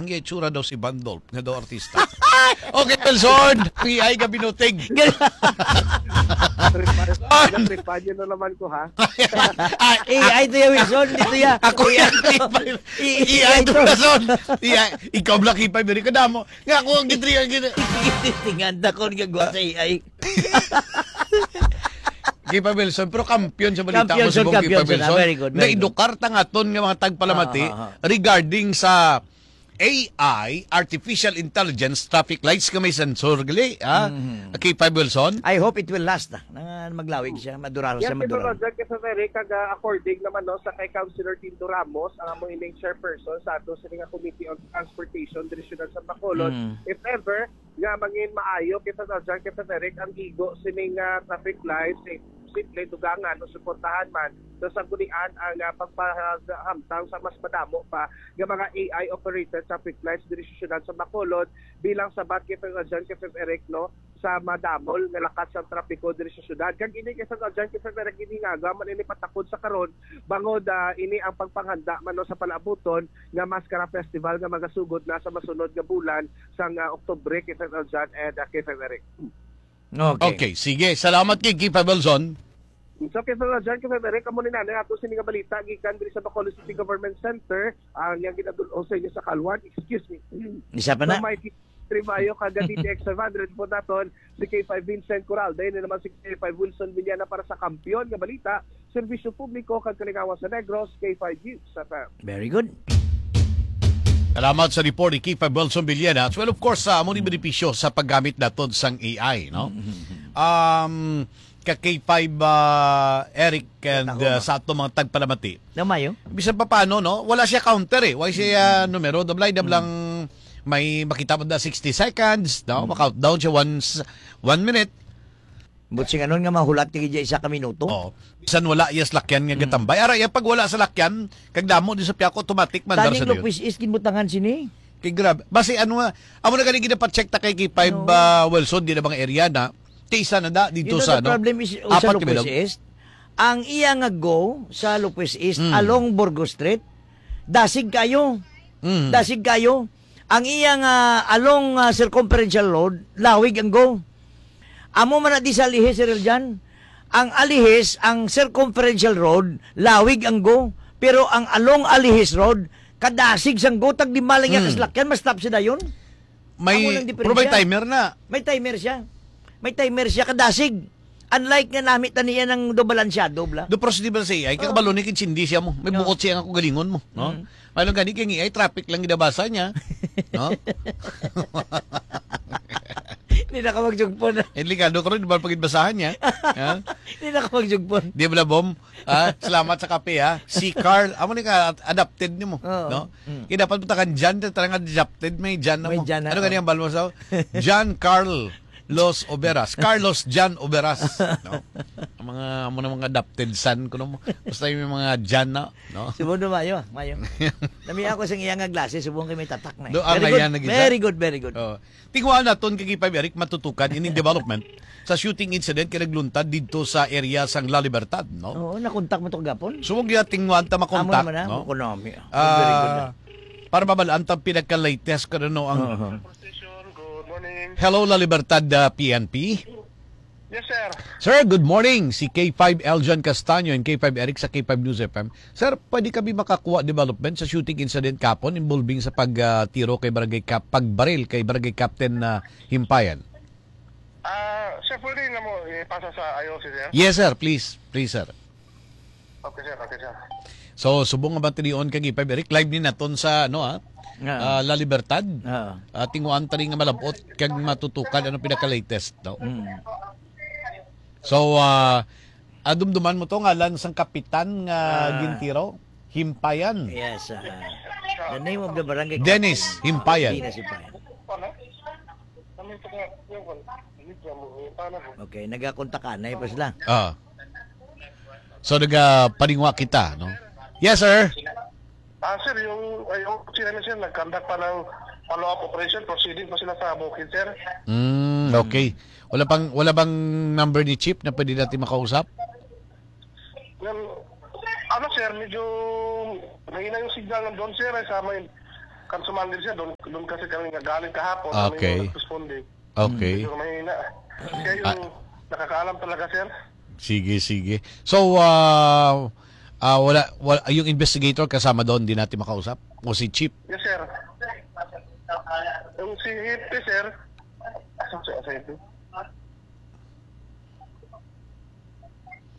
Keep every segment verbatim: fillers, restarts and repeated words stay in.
Nga itsura daw si Bandolp, nga daw artista. Okay, Wilson, P I ka binutig. Tripan, tripan nyo na naman ko, ha? Ah, A I to ya, Wilson. Dito ya. Ako A I yan, to. K five. I-, A I A I to, to. Wilson. A I, ikaw, Black, K five, very kadamo. Nga ako ang gitri-, ang gitri-, Tinganda ko nga gwa sa A I. K five Wilson, pero kampiyon sa balita Kampiyon mo, sa subong, K five kampiyon sa Wilson. Very good, very good. Naedukar ta nga aton nga mga tagpalamati Ah, ah, ah. regarding sa A I, artificial intelligence, traffic lights nga may sensor gali, ah, Mhm. K five Wilson? I hope it will last, ah, na maglawig siya, maduraro Yes, siya, Sir maduraro. Roger, kasi very kag, ah, according naman, no, sa kay Councilor Tindo Ramos, ang amo ining chairperson sa ato sini nga Committee on Transportation, Direksyonan sa Bacolod. Mm. If ever nga mangin maayo, Sir Roger, Sir Eric, ang igo sining, ah, traffic lights, eh, simple dugangan o suportahan man, so sa gunian ang, ah, pagpahamtang sa mas madamo pa nga mga A I operated traffic lights diri sa siyudad sa Bacolod bilang sabat kay Sir Adjan, kay Sir Eric, no, sa madamol nga lakat sang trapiko diri sa siyudad. Kag ini kay Sir Adjan, kay Sir Eric, ini nga man ini patakod sa karon bangod, ah, ini ang pagpanghanda man, no, sa palaabuton nga Mascara Festival nga magasugod na sa masunod nga bulan sang, ah, Oktubre, kay Sir Adjan and, ah, kay Sir Eric. Okay. Okay, sige. Salamat kay Kipa Belzon. So, kay Sir Adjan, kay Sir Eric, amo ni nanay ato sini nga balita gikan diri sa Bacolod City Government Center, ang yang ginadul-ong sa inyo sa Kalwan, excuse me. Isa pa na. So, may Tribayo kag D T X five hundred po naton si K five Vincent Coral. Dayon na naman si K five Wilson Villana para sa Kampiyon nga Balita, Serbisyo Publiko kag Kalingawan sa Negros, K five News F M. Very good. Salamat sa report ni K five Wilson Villana. Well, of course, sa amo ni benepisyo sa paggamit naton sang A I, no? Mm-hmm. Um, ka K five, uh, Eric and, Tama. uh, sa ato mga tagpalamati. Na mayo? Bisan pa paano, no? Wala siya counter eh. Wala siya, uh, numero. Dablay, dablang may makita mo na sixty seconds, no? Mm. Ma-countdown siya once, one minute. But sing anon nga mahulat ka gid isa ka minuto? Oo. Bisan wala iya salakyan nga Mm. gatambay. Ara, iya pag wala salakyan, kag damo di sa piyako, automatic man, Taning Darsa Leon. Lopez East, ginbutangan sini. Kay grabe. Basi ano nga, amo na gani ginapacheck ta kay K five, No. ah, Wilson, di na mga area na. Kay isa na da, dito You know, sa, the ano, problem is, oh, sa apat ka Lopez bilog. East, ang iya nga go sa Lopez East, Mm. along Burgos Street, dasig kayo. Mm. Dasig kayo. Ang iya nga along, ah, Circumferential Road, lawig ang go. Amo man na di sa Alihis, Sir Eljan. Ang Alihis, ang Circumferential Road, lawig ang go. Pero ang along Alihis Road, kadasig sang go, tag lima lang iya Mm. kasalakyan, ma-stop siya dayon. May, Amo lang pero may diferensya. Timer na. May timer siya. May timer siya, kadasig. Unlike nga nami tani yan ang do balansyado, bla. Do, pero sa di ba sa A I, Oh. kakabalo ni kitsindi siya mo. May No. bukot siya nga kagalingon mo, no? Mm. May lang gani kay A I, traffic lang gidabasa niya. No? Hindi na ka magjugpon. Eh, ligado ka rin, di ba, pagkitbasahan niya? Ha? Hindi na ka magjugpon. Di ba, Bom? Ah, salamat sa kape, ha? Si Carl, amo ni ka adapted ni mo, Oo. no? Mm. Kaya dapat mo takan Jan, tarang adapted, may Jan na May mo. Jan na, Ano oh. gani ang balmo sa Jan Carl Los Oberas. Carlos Jan Oberas. No? Ang mga, amo na mga adapted son, kuno mo. Basta yung mga Jan na, no? Subong do mayo, mayo. Nami ako sa iya nga glasses, subong kay may tatak na eh. Do, ang Very good, ayan na gid, very ha? good, very good. Oh. Tingwaan naton kay K five Eric matutukan ining development sa shooting incident kay nagluntad didto sa area sang La Libertad, no? Oo, nakontak mo to kagapon? So, wag niya tingwaan ta makontak, Amo naman na, no? Ako nami. Ah, Very good na. para mabalaan ta pinaka-latest ka na, no, ang Oo. Good morning. Hello, La Libertad, ah, P N P. Yes, sir. Sir, good morning. Si K five Eljan Castaño and K five Eric sa K five News F M. Sir, pwede kami makakuha development sa shooting incident kapon involving sa pag, ah, tiro kay Barangay Cap-, pagbaril kay Barangay Captain, ah, Himpayan? Ah, sir, pwede na mo ipasa sa I O C, sir? Yes, sir. Please. Please, sir. Okay, sir. Okay, sir. So, subong nga batilion kag K five Eric, live ni naton sa, ano, ah, Nga. ah, La Libertad. Ah. Ah, tinguan tani nga malabot kag matutukan ano pinaka-latest, no? Mm. So, ah, ah, dumduman mo to, ngalan sang kapitan nga Ah. gintiro? Himpayan. Yes, ah. The name of the barangay Dennis Himpayan. Dennis Himpayan. Okay, nagakontakanay pa sila. Ah. So, nagapaningwa kita, no? Yes, sir. Ah, sir, yung, ay, yung sila na, sir, nag-conduct pa ng follow-up operation, proceeding pa sila sa bukid, sir. Mm, okay. Wala pang, wala bang number ni Chief na pwede natin makausap? Well, ano, sir, medyo mahina yung signal ng doon, sir, ay sa may Kansuman din siya, doon, doon kasi kami nga galing kahapon, kami Okay. yung nagresponde. Okay. Medyo mahina. Siya yung Ah. nakakaalam talaga, sir. Sige, sige. So, ah, ah, wala, wala, yung investigator kasama doon, di natin makausap? O si Chief? Yes, sir. Yung si Chief, sir. Asa si, asa ito?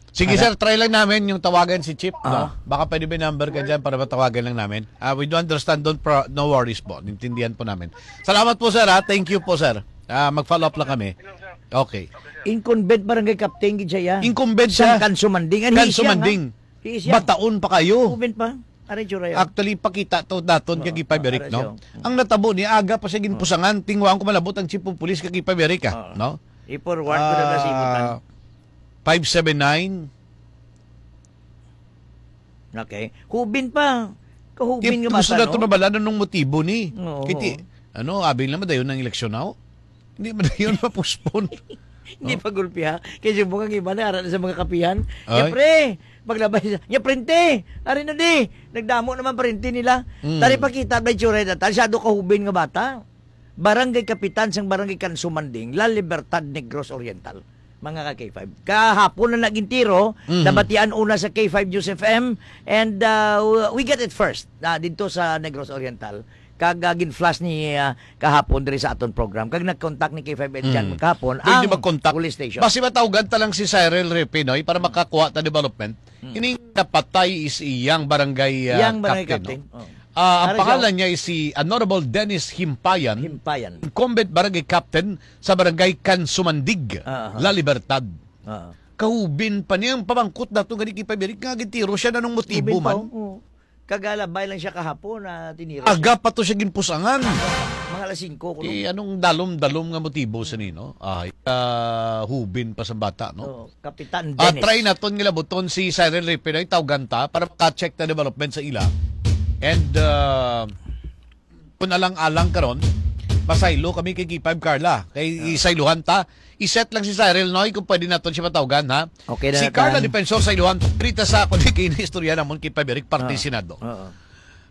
Sige, Ano? sir, try lang namin yung tawagan si Chief, no? Ah. Baka pwede may number ka dyan para matawagan lang namin. Ah, we do understand, don't pro-, no worries po. Nintindihan po namin. Salamat po, sir, ha? Thank you po, sir. Ah, mag-follow up lang kami. Okay. Incumbent barangay captain gid siya, ya. Incumbent Sang siya. Kansumanding. Anhi siya, Kansumanding. nga. He is young. Bataon pa kayo. Incumbent pa. Aray, tsura yan. Actually, pakita to daton Oo, kay Gipa Beric, ara no? siya. Ang natabo ni aga pa siya ginpusangan, tingwaan ko malabot ang chief of police kay Gipa Beric, ah, Oo. no? I-forward ko na lang sa imo, tan. Ah, five seven nine. Okay. Hubin pa. Kahubin Ti-, nga gusto bata, na to no? na bala nung motibo ni. Oo. Kiti, ano, abi na madayon ang eleksyon na, oh. Hindi madayon ma-postpone. Hindi Oh. pa gulpi, ha? Kay subong ang iba na ara na sa mga kapihan. Ay. Ya, pre, maglabay sa, ya, prente, ari na di. Nagdamo naman prente nila. Mm. Tari pakita, may tsura na ta. Siyado kahubin nga bata. Barangay Kapitan sang Barangay Kansumanding, La Libertad, Negros Oriental. Mga ka K five. Kahapon na naging tiro, Mhm. nabatian una sa K five News F M, and, uh, we get it first, uh, dito sa Negros Oriental. Kag, uh, gin-flash ni, uh, kahapon diri sa aton program. Kag nag-contact ni K five L dyan Mm. kahapon Pwede ang mag-contact. police station. Basi matawgan ta lang si Cyril Ripinoy para makakuha ta development. Mm. Kining napatay is iyang barangay, uh, Iyang barangay captain, captain. no? Oh. Ah, ang Ano siya? pangalan niya is si Honorable Dennis Himpayan, Himpayan. incumbent barangay captain sa barangay Kansumandig, Ah, aha. La Libertad. Ah. Kahubin pa niyang pamangkot dato gani kay Pabrik nga gintiro siya na nung motibo Kahubin pa, man. oo. Kagalabay lang siya kahapon na tiniro siya. Aga pa to siya ginpusangan. Mga alas singko, kuno. Eh, anong dalom-dalom nga motibo sa nino? Ay, kahubin pa sa bata, no? Oo. Kapitan Ah, Dennis. try naton nga labuton si Cyril Ripinoy, tawgan ta para maka-check ta development sa ila. And, uh, kung alang-alang karon, masaylo kami kay K five Carla. Kay Ah. isayluhan ta. I-set lang si Cyril, Noy, kung pwede naton siya matawgan, ha? Okay na Si na Carla tanan. Defensor sa iluhan. Rita sa ako ni kini istorya namon kay Pabrik, parte Ah. Senado. Oo.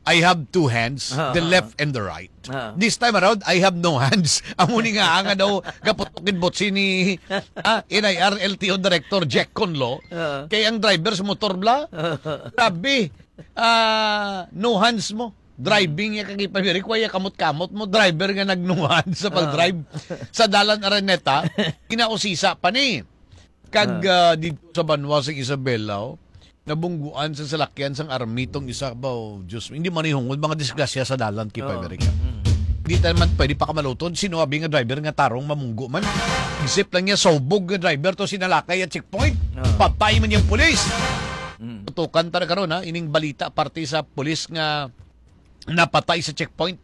I have two hands, Ah, the ah, left ah. and the right. Ah. This time around, I have no hands. Amo ni nga nga daw gaputok gid botsi ni, ah, N I R L T O Director Jack Conlo. Ah. Kay ang driver sa motor bla, Ah. grabe. Ah, no hands mo. Driving ya kag ipamirik, waya kamot-kamot mo. Driver nga nag-no hands sa Ah. pag-drive sa Dalan Araneta. Kinausisa pa ni. Kag, Ah. ah, dito sa banwa sa Isabela, oh, nabungguan sa salakyan sang army tong isa ba, oh, Diyos, hindi man ihungod, mga disgrasya sa dalan, kay Oh. Pabrik. Mm. Hindi tayo man pwede pakamalutod, sino abi nga driver nga tarong mamunggo man. Isip lang niya, sobog nga driver to, sinalakay at checkpoint. Oh. Patay man yung pulis. Mm. Tutukan ta na karon, ha, ining balita parte sa pulis nga napatay sa checkpoint.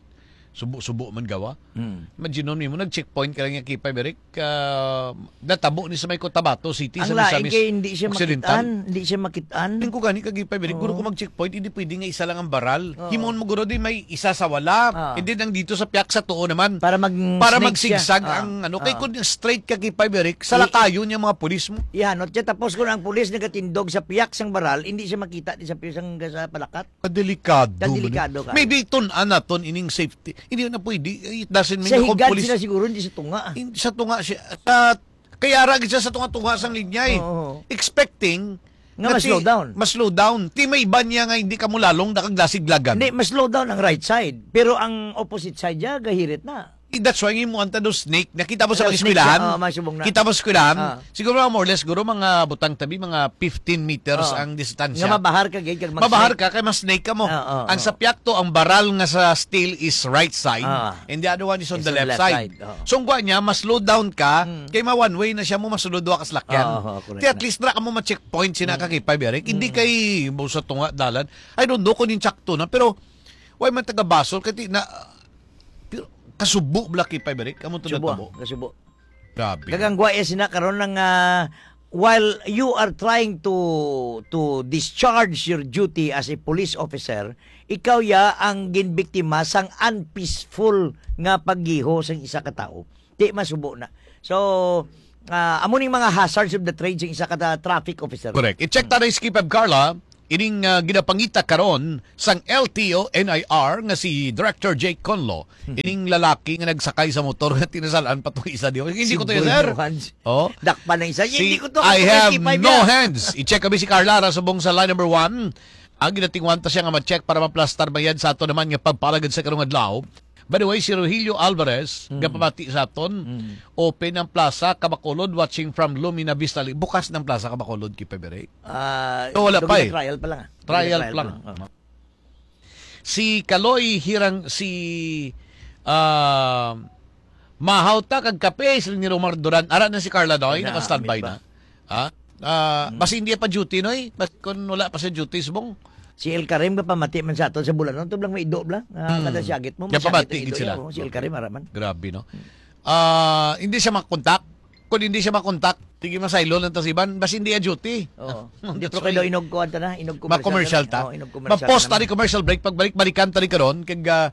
Subo-subo man gawa. Mm. Imagine mo, nag-checkpoint ka lang yung K five Beric, ah, natabo ni sa may Cotabato City, Ang sa lain Misamis kay hindi siya Occidental. makitaan, hindi siya makitaan. Tingin ko gani kag K five Beric, guro Oo. ko mag-checkpoint, hindi pwede nga isa lang ang baral. Oo. Himon mo guro di may isa sa wala. Ah. And then ang dito sa piyak sa tuo naman. Para mag-, Para snake siya. magsigsag Ah. ang ano. Kay Ah. kung straight ka K five Beric, I-, salakayon yung mga pulis mo. Ihanot siya. Tapos kung ang pulis nagatindog sa piyak sang baral, hindi siya makita di sa piyak sang, sa palakat. Kadelikado man. Kadelikado ka. Maybe tun-an naton ining safety. Hindi na pwede. It doesn't mean Sa na kung higad pulis sila siguro, hindi sa tunga, ah. Hindi sa tunga siya. Sa, kaya ra gid siya sa tunga-tunga sang linya, eh. Oo. Expecting Nga na mas ti-, slow down. mas slow down. Ti may iba niya nga hindi ka mo lalong nakaglasiglagan. Hindi, mas slow down ang right side. Pero ang opposite side niya, gahirit na. Eh, that's why nga mo ang tanong snake. Nakita mo sa Ano, mga snake eskwelahan? siya? Oo, may subong na. Kita mo sa eskwelahan? Ah. Siguro mga more or less, siguro mga butang tabi, mga fifteen meters Oo. ang distansya. Nga mabahar ka, gid, kag mag-snake. Mabahar ka, kay mas snake ka mo. Oo, Ang oo. sa piyak to, ang baral nga sa steel is right side, Ah. and the other one is on Is the on the left left side. side, oo. So, ang kuha niya, mas slow down ka, Mm. kay ma one way na siya mo, masulod duha ka salakyan. Oo, oo, correct Ti at na. least, ra ka mo ma-checkpoint, sina Mm. ka kay Pabrik. Hindi Mm. kay mo sa tunga dalan. I don't know kung yung tsakto na, pero why man taga Basol, kay ti na, pero kasubo bala kay Pabrik, amo to Subo, natabo. ah, kasubo. Grabe. Gagangwa iya sina karon nga, ah, while you are trying to, to discharge your duty as a police officer, ikaw ya ang ginbiktima sang unpeaceful nga paggiho sang isa ka tawo. Di masubo na. So, ah, amo ning mga hazards of the trade sang isa ka ta-, traffic officer. Correct. I-check ta na si Skipab Carla. ining, ah, ginapangita karon sang L T O N I R nga si Director Jake Conlo, ining lalaki nga nagsakay sa motor nga tinasalan pa tong isa diho. Hindi ko to, sir. Oh. Dakpan na isa. Si Hindi ko to, I have no hands. I-check kami si Carla Rasubong sa line number one. Ang ginatingwan ta siya nga ma-check para maplastar mayad sa ato naman nga pagpalagad sa karong adlaw. By the way, si Rogelio Alvarez, Mm. nga pamati sa aton, Mm. open ang plaza, Kabacolod, watching from Lumina Vista. Bukas ng plaza, Kabacolod, kay Pebere. Ah, So, wala pa eh. Trial pa lang, ah. Trial Trial pa lang. pa lang, oh. Si Kaloy Hirang, si, ah, Mahaw ta kag kape, sila ni Romar Duran. Ara na si Carla Doy, Wala, naka-standby ambit na. Ha? Ah, Mm. basi hindi pa duty, Noy? Basi kung wala pa sa duty, subong? Si El Karim, kapamati man sa aton sa Bulanon, tublang may ido bla. Ah, Hmm. kada siyagit mo, Kaya masyagit pamati ang gid ido sila. niya, oh, si El Karim, ara man. Grabe, no? Ah, hindi siya makontak. Kung hindi siya makontak, sige, masaylo lang ta sa iban. Basi hindi a duty. Oo. Hindi, That's pero kay why. daw inog ko, anta na, inog commercial Ma-commercial na. ta. Oo, inog commercial Ma-pause na ta ni naman. commercial break. Pagbalik, balikan ta ni karon. Kag, ah,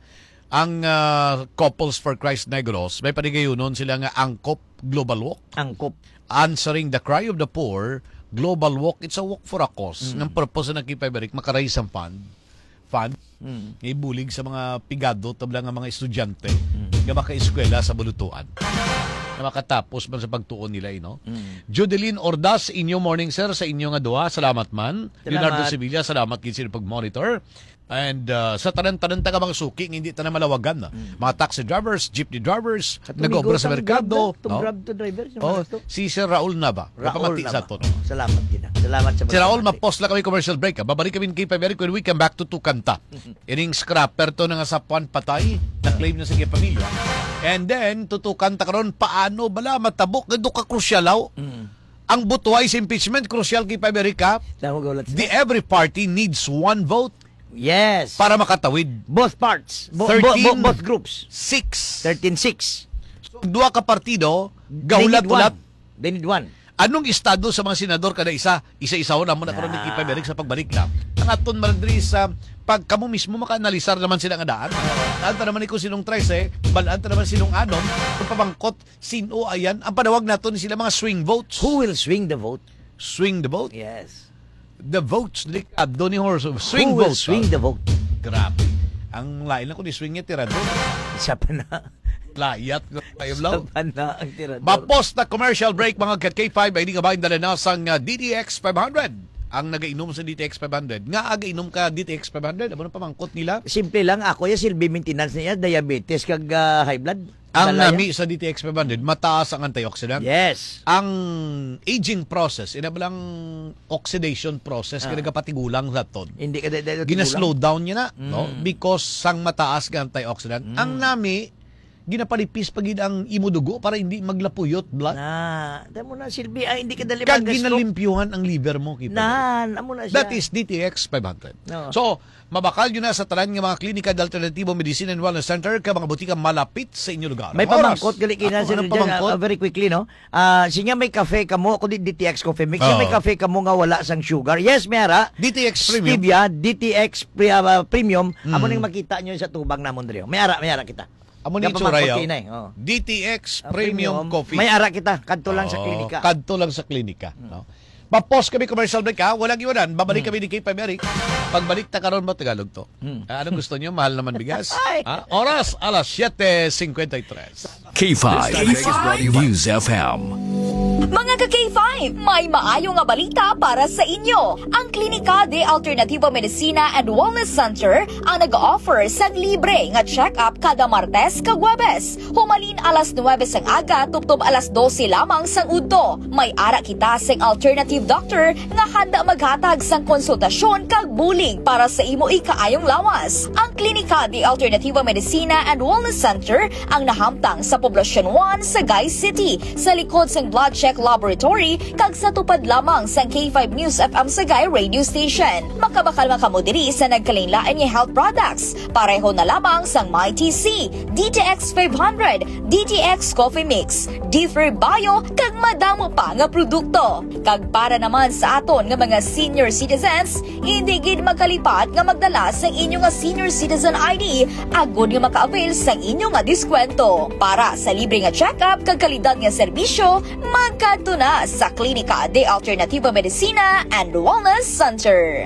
ang, ah, Couples for Christ Negros, may panigayunon sila nga Angkop Global Walk. Angkop. Answering the cry of the poor, Global Walk, it's a walk for a cause. Mm. Ang purpose na kay Peberic, makaraise ang fund. Fund. Mm. Ibulig sa mga pigado, tabla nga mga estudyante Mm. nga makaeskwela sa Bulutuan. Na makatapos man sa pagtuon nila, eh, no? Mm. Judeline Ordas, inyo morning, sir, sa inyo nga duha. Salamat man. Salamat. Leonardo Sevilla, salamat gid sa inyong pag-monitor. And, uh, sa tanan-tanan ta nga mga suki nga hindi tanan malawagan, ah. Mm. Mga taxi drivers, jeepney drivers, Katong nag-obra sa migo, merkado, tong Grab, no? tong Grab to driver, sa Oh, mga to. si Sir Raul Nava, Raul kapamati sa Nava. aton. Salamat gid, ah. Salamat sa Si Raul, pagpamati. ma-pause lang kami commercial break, ah. Babalik kami kay Peberic when we come back to Tukanta. Ining scrapper to nga sapuan patay, na-claim na sa iyang pamilya. And then, tutukan ta karon, paano bala matabok nga duka krusyal, haw? Mm. Ang butuhay sa impeachment, krusyal kay Peberic, ha? Tama, gaulat The sila. every party needs one vote Yes. para makatawid. Both parts. Bo-, bo-, bo-, Thirteen both groups. six. Thirteen six. So, duha ka partido, They need gaulat-ulat. one. They need one. Anong estado sa mga senador kada isa? Isa-isahon naman na karon ni Ah. Kipay Berig sa pagbalik na. Ang aton man diri sa pag kamo mismo makaanalisar naman sila nga daan. Daan ta naman ni kung sinong trese, balaan ta naman sinong anom, kung pamangkot, sino ayan. Ang panawag nato ni sila mga swing votes. Who will swing the vote? Swing the vote? Yes. The votes, delikado ni Horse. Swing Who will vote, swing ah. the vote? Grabe. Ang lain lang kung ni-swing niya, tirador. Isa pa na. Layat ko kayo, Isa Blau. pa na ang tirador. Mapos na commercial break, mga ka K five, ay di nga ba yung dala na sang, ah, D T X five hundred? Ang nagainom sa D T X five hundred. Nga againom ka D T X five hundred? Amo na pamangkot nila? Simple lang, ako yung silbi maintenance niya, diabetes, kag, ah, high blood. Ang Malaya. nami sa D T X five hundred, mataas ang antioxidant. Yes. Ang aging process, ina ba lang oxidation process, Ah. nga nagapatigulang sa ton. Hindi ka dahil, dahil Gina-slow tigulang. down niya na, no? Mm. Because sang mataas nga antioxidant. Mm. Ang nami, ginapalipis pa gid ang imo dugo para hindi maglapuyot, blood. Na, tamo na, silbi, ay, hindi ka dali Kag mag-stroke. ginalimpyuhan ang liver mo, kita. Nan, amo na siya. That is D T X five hundred. No. So, mabakal yun na sa tanan nga mga klinika, alternatibo, medicine and wellness center, ka mga butika malapit sa inyo lugar. May Oras. pamangkot, gali kina Ako sila ang dyan, ah, pamangkot. ah, very quickly, no? Ah, siya may kafe kamo, ako di D T X Coffee Mix. Siya may Oo. kafe kamo nga wala sang sugar. Yes, may ara. D T X Premium. Stevia, D T X pre-, ah, Premium. Amo Mm. nang makita nyo sa tubang namon diri. May ara, may ara kita. Amo ni Gapamangkot itsura, yaw. kina eh, oh. D T X Ah, Premium Premium. Coffee. May ara kita. Kadto lang sa Oo, klinika. kadto lang sa klinika, Mm. no? Mapos kami commercial break, ha? Walang iwanan. Babalik Mm. kami ni K five Eric. Pagbalik ta karon mo Tagalog to. Mm. Ah, anong gusto niyo? Mahal naman bigas? Ay. Ha? Oras, alas siete cincuenta y tres. K five News F M. Mga ka K five, may maayo nga balita para sa inyo. Ang Klinika de Alternativo Medicina and Wellness Center ang nag-offer sang libre nga check-up kada Martes kag Huwebes, humalin alas nuwebe sang aga tubtob alas dose lamang sang udto. May ara kita sing alternative doctor nga handa maghatag sang konsultasyon kag bulig para sa imo ikaayong lawas. Ang Klinika de Alternativo Medicina and Wellness Center ang nahamtang sa Poblacion one, Sagay City, sa likod sang Blood Check Laboratory kag sa tupad lamang sang K five News F M Sagay Radio Station. Makabakal man kamo diri sa nagkalainlain nga health products, pareho na lamang sang My T C, D T X five hundred, D T X Coffee Mix, Differ Bio, kag madamo pa nga produkto. Kag para naman sa aton nga mga senior citizens, hindi gid magkalipat nga magdala sang inyo nga senior citizen I D agod nga maka-avail sang inyo nga diskwento. Para sa libre nga check-up kag kalidad nga serbisyo, magkadto na sa Klinika de Alternativo Medicina and Wellness Center.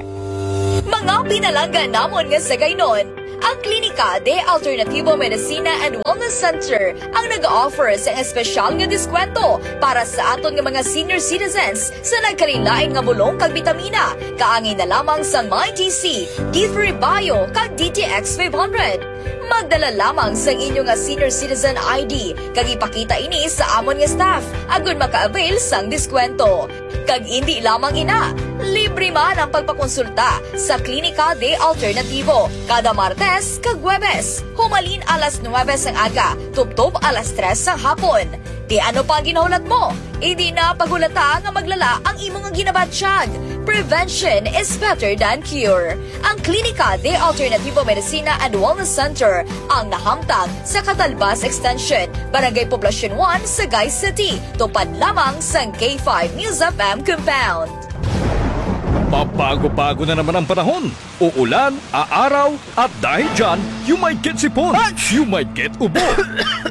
Mga pinalangga namon nga sagaynon, ang Klinika de Alternativo Medicina and Wellness Center ang nag-offer sa espesyal nga diskwento para sa aton nga mga senior citizens sa nagkalainlain nga bulong kag bitamina, kaangay na lamang sang Mighty C, D three Bio, kag D T X five hundred. Magdala lamang sang inyo nga senior citizen I D kag ipakita ini sa amon nga staff agud maka-avail sang diskwento. Kag indi lamang ina, libre man ang pagpakonsulta sa Klinika de Alternativo kada Martes kag Huwebes, humalin alas nuwebe sang aga tubtob alas tres sang hapon. Ti ano pa ang ginahulat mo? Indi na paghulata nga maglala ang imo nga ginabatyag. Prevention is better than cure. Ang Klinika de Alternativo Medicina and Wellness Center ang nahamtang sa Catalbas Extension, Barangay Poblacion one, Sagay City, tupad lamang sang K five News F M compound. Pabago-bago na naman ang panahon. Uulan, aaraw, at dahil dyan, you might get sipon, you might get ubo,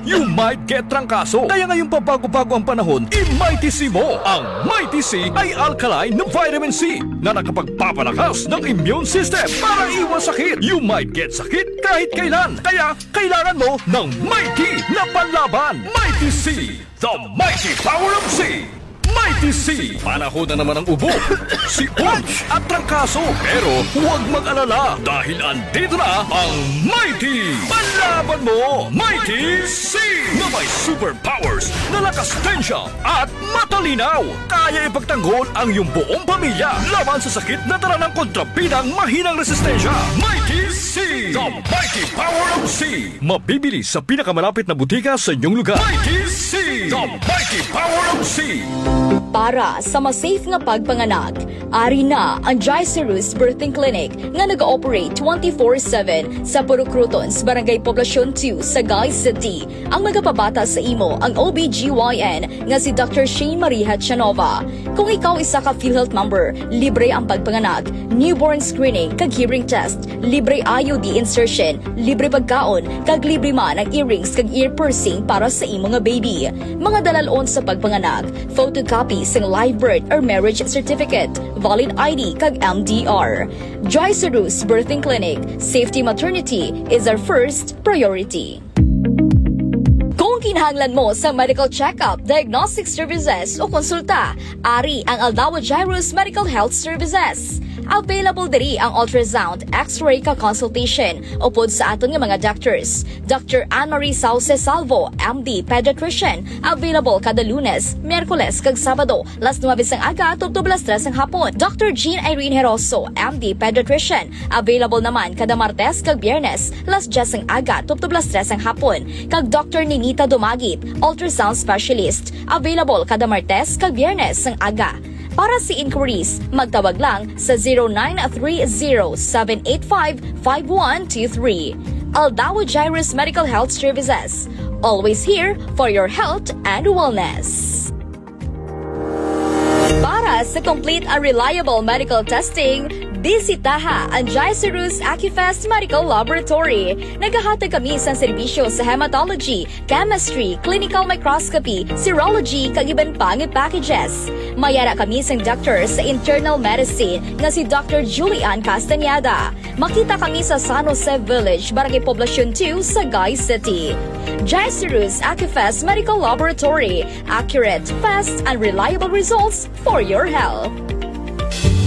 you might get trangkaso. Kaya ngayong pabago-bago ang panahon, i-Mighty C mo. Ang Mighty C ay alkaline na vitamin C na nakapagpapalakas ng immune system para iwas sakit. You might get sakit kahit kailan. Kaya kailangan mo ng Mighty na panlaban. Mighty C, the mighty power of C. Mighty C, panahon na naman ang ubo, sipon, at trangkaso. Pero huwag mag-alala dahil andito na ang Mighty Panlaban Mo, Mighty C, na may superpowers na lakas tensya at matalinaw. Kaya ipagtanggol ang iyong buong pamilya laban sa sakit na dala ng kontrabidang mahinang resistensya. Mighty C, the mighty power of C. Mabibili sa pinakamalapit na butika sa inyong lugar. Mighty C, the mighty power of C. Para sa mas safe nga pagpanganak, ari na ang Gicerus Birthing Clinic nga nag-ooperate twenty-four seven sa Purok Crotons, Barangay Poblacion two, Sagay City. Ang magapabata sa imo ang O B G Y N nga si Doctor Shane Maria Chanova. Kung ikaw isa ka PhilHealth member, libre ang pagpanganak, newborn screening kag hearing test, libre I U D insertion, libre pagkaon, kag libre man ang earrings kag ear piercing para sa imo nga baby. Mga dalal-on sa pagpanganak, photocopy sang live birth or marriage certificate, valid I D kag M D R. Joy Sarus Birthing Clinic, safety maternity is our first priority. Kung kinahanglan mo sa medical check-up, diagnostic services o konsulta, ari ang Aldawa Jairus Medical Health Services. Available diri ang ultrasound, X-ray ka consultation upod sa aton nga mga doctors, Doctor Anne Marie Sauce Salvo, M D, pediatrician, available kada Lunes, Miyerkules, kag Sabado, las nuebe sang aga tubtob las tres sang hapon. Doctor Jean Irene Heroso, M D, pediatrician, available naman kada Martes kag Biyernes, las dyes sang aga tubtob las tres sang hapon. Kag Doctor Ninita Dumagit, ultrasound specialist, available kada Martes kag Biyernes sang aga. Para sa inquiries, magtawag lang sa zero nine three zero seven eight five five one two three. Aldawa Jairus Medical Health Services. Always here for your health and wellness. Para sa complete and reliable medical testing, bisitaha ang Jaisarus Acufest Medical Laboratory. Nagahatag kami sa serbisyo sa hematology, chemistry, clinical microscopy, serology, kag iban pa nga packages. May ara kami sang doctor sa internal medicine nga si Doctor Julian Castañeda. Makita kami sa San Jose Village, Barangay Poblacion two, Sagay City. Jaisarus Acufest Medical Laboratory. Accurate, fast, and reliable results for your health.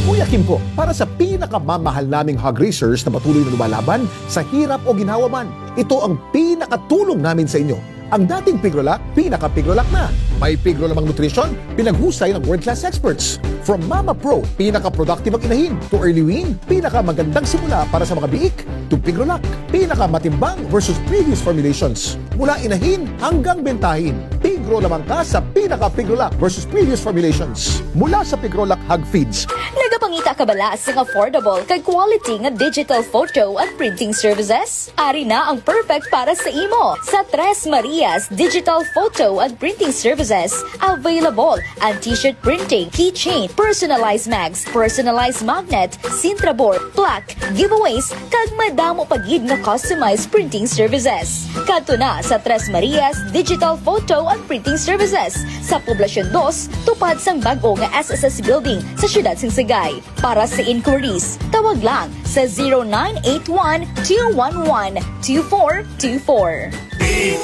Kuya Kimpo, para sa pinakamamahal naming hog raisers na patuloy na lumalaban sa hirap o ginhawa man, ito ang pinakatulong namin sa inyo. Ang dating Pigrolac, pinaka-Pigrolac na. May Pigro lamang nutrition, pinaghusay ng world-class experts. From Mama Pro, pinaka-productive ang inahin, to Early Wean, pinakamagandang simula para sa mga biik, to Pigrolac, pinakamatimbang versus previous formulations. Mula inahin hanggang bentahin, Pigro lamang ka sa pinaka-Pigrolac versus previous formulations. Mula sa Pigrolac Hog Feeds. Nagapangita ka bala sang affordable kag quality nga digital photo and printing services? Ari na ang perfect para sa imo. Sa Tres Marias Digital Photo and Printing Services, available ang t-shirt printing, keychain, personalized mags, personalized magnet, Sintra board, plaque, giveaways, kag madamo pa gid nga customized printing services. Kadto na sa Tres Marias Digital Photo and Rating Services sa Poblacion Dos, tupad sang bag-o nga S S S Building sa siyudad sang Sagay. Para sa inquiries, tawag lang sa zero nine eight one, two one one, two four two four.